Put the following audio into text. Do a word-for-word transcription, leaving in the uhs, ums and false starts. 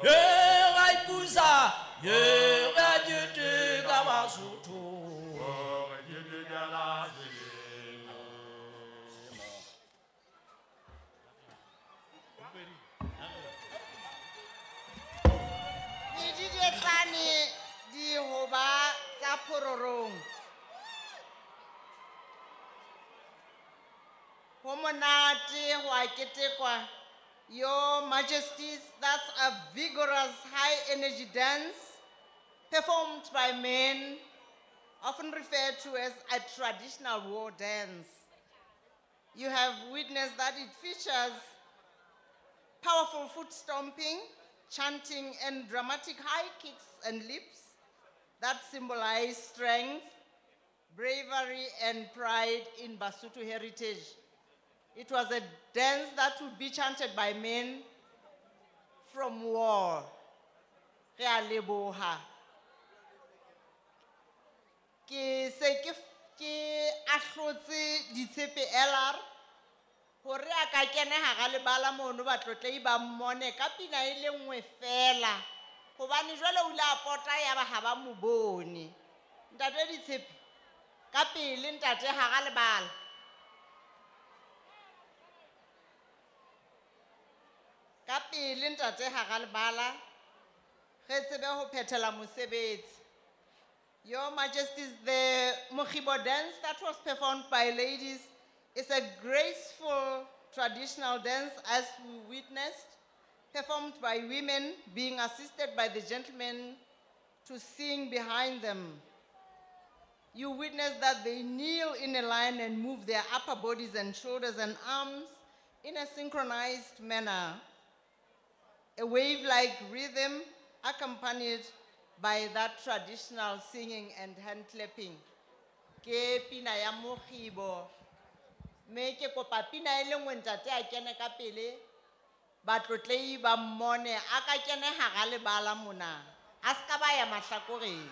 Ye ra ipusa, ye ra keteka Basotho. Re ketekela selemo. Medidietsane dihoba tsa phororong. Ho monate ho a ketekwa. Your Majesties, that's a vigorous high-energy dance performed by men, often referred to as a traditional war dance. You have witnessed that it features powerful foot stomping, chanting, and dramatic high kicks and leaps that symbolize strength, bravery, and pride in Basotho heritage. It was a dance that would be chanted by men from war. Re a leboha. Ke se ke f-, ke ahlotse Ditshepe L R hore a ka kena hara lebala mono batlotlehi ba mmone ka pina e le nngwe feela. Hobane jwale o ile a pota ya ba ha ba mo bone. Ntate Ditshepe, ka pele ntate hara lebala. Ka pele ntate hara lebala, re tsebe ho phethela mosebetsi. Your Majesties, the Mokgibo dance that was performed by ladies is a graceful traditional dance as we witnessed, performed by women being assisted by the gentlemen to sing behind them. You witness that they kneel in a line and move their upper bodies and shoulders and arms in a synchronized manner. A wave-like rhythm accompanied by that traditional singing and hand clapping. Ke pina ya mokgibo. Mme ke kopa pina e le nngwe ntate a kene ka pele, batlotlehi ba mmone, a ka kene hara lebala mona. A ska ba ya mahlakoreng.